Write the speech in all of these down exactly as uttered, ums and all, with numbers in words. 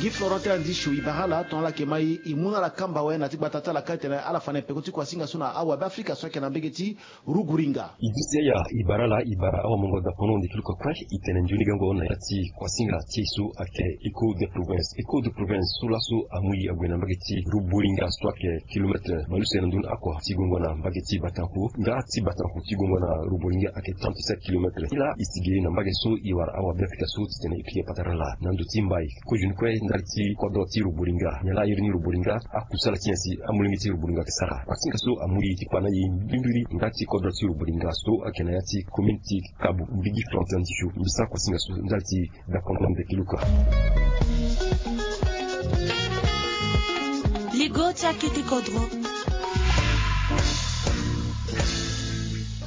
Gi Florentin Andishu, e bara ala tongana ala yeke ma e, e mu na ala kamba awe na ti gbata ti ala ka e tene ala fa na e peko ti kuasinga so na awabe Afrika so ayeke na mbage ti Ruburinga. E disi ya, e bara ala, e bara awamongo dapono ndeke luka kue, e tene nzoni gango na ya ti kuasinga ti e so ayeke Echo de Province. Echo de Province so laso amu e ague na mbage ti Ruburinga so ayeke kilometre bale use na ndoni oko ti gongo na mbage ti Batanku. Nga ti Batanku ti gongo na Ruburinga ayeke trente-sept kilomètres. Ti la e sigi na mbage so e wara awabe Afrika so titene e pika patara laa na ndo ti mbai. Kozo ni kue ndali ti kodro ti Ruburinga. Nyen laa iri ni Ruburinga, akusala ti nyen si amolenge ti Ruburinga ayeke sara? Kuasinga so amu e ti kpa na e mbrimbiri nga ti kodro ti Ruburinga so ayeke na ya ti commune ti Kabu. Mbigi Florentin Andishu, mbi sara kuasinga so ndali ti D'accord, ndeke luka. Ligo ti akete kodro.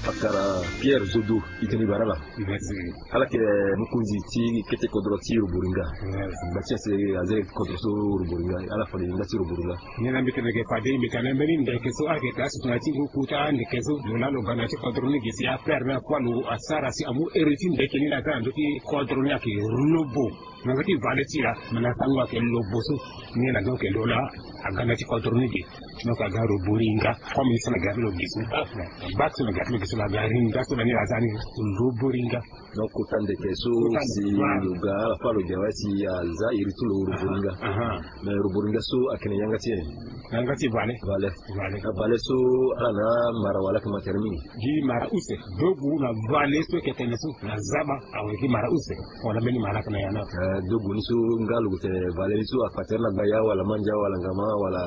Fakara Pierre Zodo, e tene e bara ala. Ala yeke mokonzi ti kete kodro ti Ruburinga. Ngba ti ase aza kodro so Ruburinga, ala fa na e nga ti Ruburinga. Nyen na mbi tene mbi yeke fade, mbi tene mbeni ndeke so ayeke daa aso tongana ti ngu kota ndeke so, lo laa lo ga na ya ti kodro ni gi si affaire ni akua lo asara si amu ere ti ndeke ni laa aza na ndö ti kodro ni ayeke lobo. Na ndö ti vale ti e laa, me na sango ayeke lobo so. Nyen na donc lo laa aga na ya ti kodro ni gi. Donc aga Ruburinga. Comme ni so na ga ti lo gi so. Bak so na ga ti lo gi so laa aga Ruburinga so laa ni laa aza ni Ruburinga. Donc kota ndeke so si lo ga, ala fa lo gi awe si aza iri ti lo Ruburinga. Mais Ruburinga so ayeke na yanga ti nyen? Yanga ti vale. Vale. Vale. Vale so ala na mara wala ayeke ma tere mingi? Gi mara use, dogu na vale so ayeke tene so na zaba awe gi mara use. Wala mbeni mara ayeke na ya na. Eh, dogu ni so nga lo gue tene vale ni so akpa tere na gbaya wala mandia wala ngama wala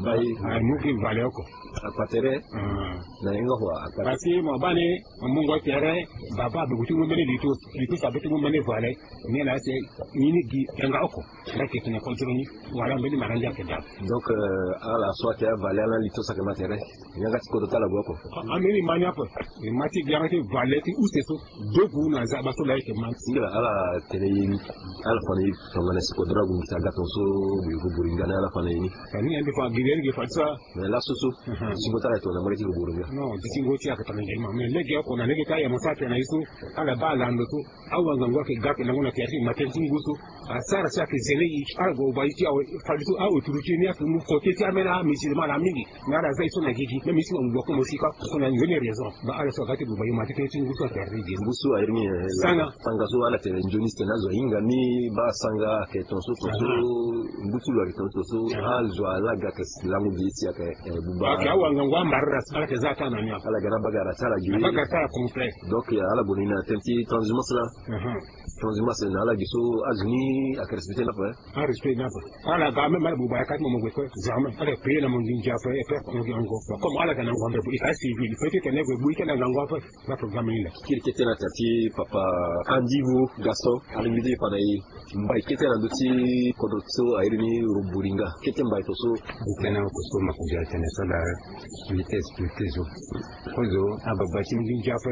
mbai? Ah, ah, mu gi vale oko. Akpa tere? Ah. Na yanga kua akpa tere. Parce que mo baa ni Mo mungo tere, baba abe gue ti mu mbeni lito, lito so abe ti mu mbeni vale. Nyen na ya si ni ni gi yanga oko. Ala yeke tene kodro ni, wala mbeni mara ndia ayeke daa. Donc, euh, ala so ayeke avale, ala na lito so ayeke ma tere. Yanga ti kodro ti ala gue oko. A, ambeni ma ni ape. E ma ti gi yanga ti vale ti use so. Dogu na zaba so laa e yeke ma. Singila ala tene ye ni. Ala fa na e tongana si kodro ague ngisa aga tongaso. Gue Ruburinga ni ala fa na ye ni. Ani ande fa gi ni gi fa ti so. Mais laso so, mhm, singo ti ala ayeke tongana mbage ti Ruburinga. Non, singo ti ala ayeke tongana nzoni ma. Mais lege oko na lege ti ayemo so atene na e so, ala baa lando so, awangango ayeke ga ayeke lango na tere ti e, na tere ti ngu so. Asara so ayeke zele e, ala gue oba e ti awe, fade so, a-autorité ni ayeke mu kote ti ameni amusulman laa mingi. Mais ala za e so na gigi, même e so na ngu oko mo sika, so na nzoni raison. Ba ala so aga ti buba e ma ti tere ti ngu so atene ti gigi. Ngu so airi ni, eh, sanga. Sanga so ala tene nzoni si tene azo ahinga ni, baa sanga ayeke tongaso, tongaso, aha, ngu ti lo ayeke tongaso, tongaso, aha, azo ala ga ayeke lango gi si ayeke, eh, buba. Ayeke awangango amara ala si ala yeke za ata na ni. Ala ga na bagara ti ala gi. Na bagara ti ala complet. Donc, eh, ala gue na ni na tënë ti transhumance laa. Mhm. Transhumance na ala gi so azo ni ayeke respecté ni ape. Arespect ni ape. Ala ga même ala buba ya ka ti mo mo gue kue. Jamais. Ala yeke prier na mo nginza ape, et puis mo gi yango. Bon, comme ala ga na yango ape, e ka civil. Peut-être tene gue bu ike na yango ape. Na programme ni laa. Kiri kete na tere ti papa Andivo Gaston, alingbi ti fa na e mbai kete na ndö ti kodro so airi ni Ruburinga. Kete mbai tongaso. Tënë oko so mo yeke zia tene so laa, mbi te expliqué zo. Kozo, ababa ti nginza ape.